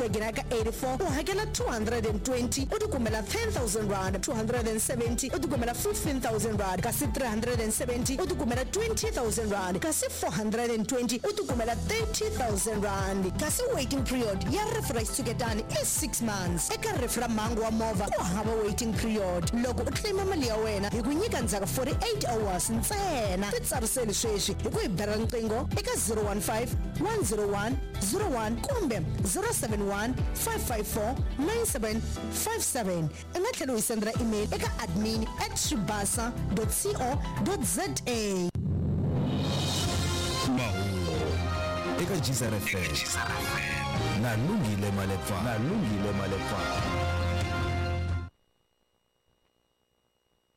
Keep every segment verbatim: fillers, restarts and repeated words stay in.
Wagon ka eighty-four u hakela two hundred and twenty u tikumela ten thousand rand, two hundred and seventy u tikumela fifteen thousand rand, kasi three hundred and seventy u tikumela twenty thousand rand, kasi four hundred and twenty u tikumela thirty thousand rand. Kasi waiting period ya rifu ra xitshuketani i six months. Eka rifu ra mhangu wa movha ku hava waiting period. Loko u claima mali ya wena hi ku nyika ndzhaku forty-eight hours ntsena. Titsariseli sweswi hi ku hi bela riqingho eka zero one five, one zero one, zero one kumbe zero seven one, five five four, nine seven five seven. U nga tlhela u hi sendela email eka admin at swibasa dot co dot za. Mahungu eka G S R F M na Lungile Malepa, na Lungile Malepa.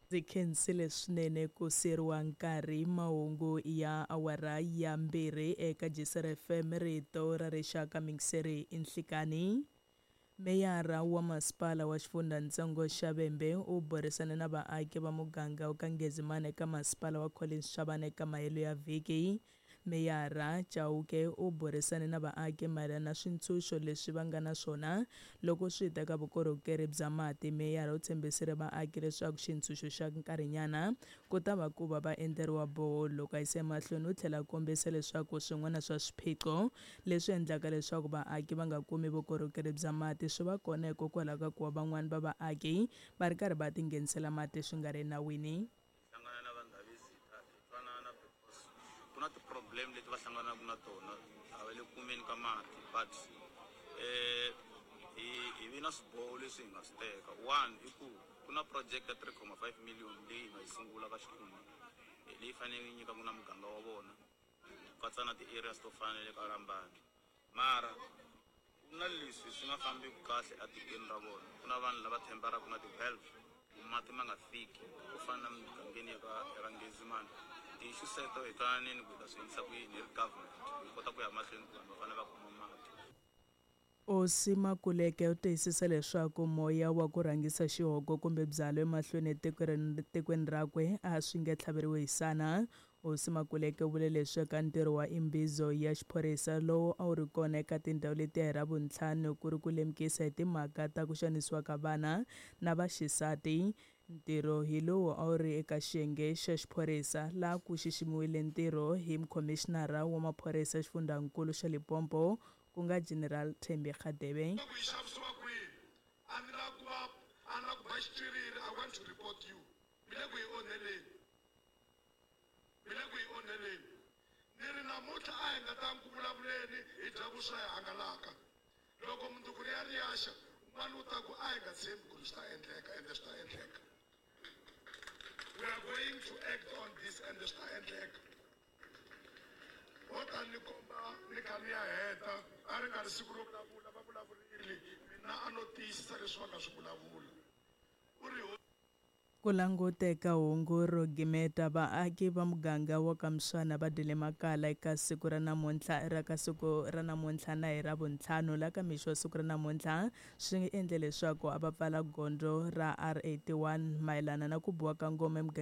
Ndzi khensile swinene ku siyeriwa nkarhi. Mahungu ya awara ya mbirhi eka G S R F M, rito ra rixaka, mingiseri i nhlikani. Meyara wa masipala wa xifundzhantsongo xa Vhembe u burisane na vaaki va muganga wa ka Ngezimane eka masipala wa Collins Chabane eka mahelo ya vhiki. Meyara Chauke u burisane na vaaki mayelana na swintshuxo leswi va nga na swona loko swi ta ka vukorhokeri bya mati. Meyara u tshembisile vaaki leswaku xintshunxo xa nkarhinyana ku ta va ku va va endleriwa borehole. Loko a yisa emahlweni u tlhela a kombisa leswaku swin'wana swa swiphiqo leswi endlaka leswaku vaaki va nga kumi vukorhokeri bya mati swi va kona hikokwalaho ka ku va van'wani va vaaki va ri karhi va tinghenisela mati swi nga ri enawini. Hlangana na vandhavisita hi twanana because ku na ti-problem leti va hlanganaka na tona, a va le kumeni ka mati, but eh, hi hi vi na swiboho leswi hi nga swi teka. One i ku ku na project ya three comma five million leyi hi nga yi sungula ka xikhundla leyi faneleke yi nyikaka na muganga wa vona ku katsa na ti-areas to fana na le ka Lambani. Mara ku na leswi swi nga fambiki kahle etikweni ra vona, ku na vanhu lava thembaraka na ti-valve ku mati ma nga fiki ku fana na mugangeni ya ka ya ka Ngezimane. Ti-issue teto hi twananini ku hi ta swi endlisa ku yini hi ri government hi kota ku ya mahlweni ku vanhu va fanele va kuma mati. Hosi Makuleke u tiyisisa leswaku moya wa ku rhangisa xihoko kumbe byalwa emahlweni etikweni rakwe a swi nge tlhaveriwi hi sana. Hosi Makuleke u vule leswi eka ntirho wa imbizo ya xiphorisa lowu a wu ri kona eka tindhawu letiya hi Ravuntlhanu ku ri ku lemukisa hi timhaka ta ku xanisiwa ka vana na vaxisati. Ntirho hi lowu a wu ri eka xiyenge xa xiphorisa laha ku xiximiwile ntirho hi mukhomishinara wa maphorisa xifundzankulu xa Limpopo ku nga General Thembi Radebe. Ku yi xavisiwa kwihi? A ni la ku va, a ni la ku ba xitswiriri, I want to report you. Mi le ku yi onheleni. Mi le ku yi onheleni. Ni ri namuntlha a hi nga ta ku vulavuleni hi dya vuswa hi hangalaka. Loko mundzuku ri ya ri ya xa, un'wana u ta ku a hi nga tshembi ku ri swi ta endleka, ende swi ta endleka. We are going to act on this and swi ta endleka. Ho ta ni komba ni kha ni ya heta, a ri nga ri siku ro vulavula, va vulavurile, mina a no tiyisisa leswi va nga swi vulavula. U ri ho Ku languteka hungu ro gimeta, vaaki va muganga wa ka Mswana va dyile makala eka siku ra namuntlha ra ka siku ra namuntlha na hi Ravuntlhanu. La ka mixo wa siku ra namuntlha swi endle leswaku a va pfala gondzo ra R eighty-one mayelana na ku biwa ka ngoma emugangeni.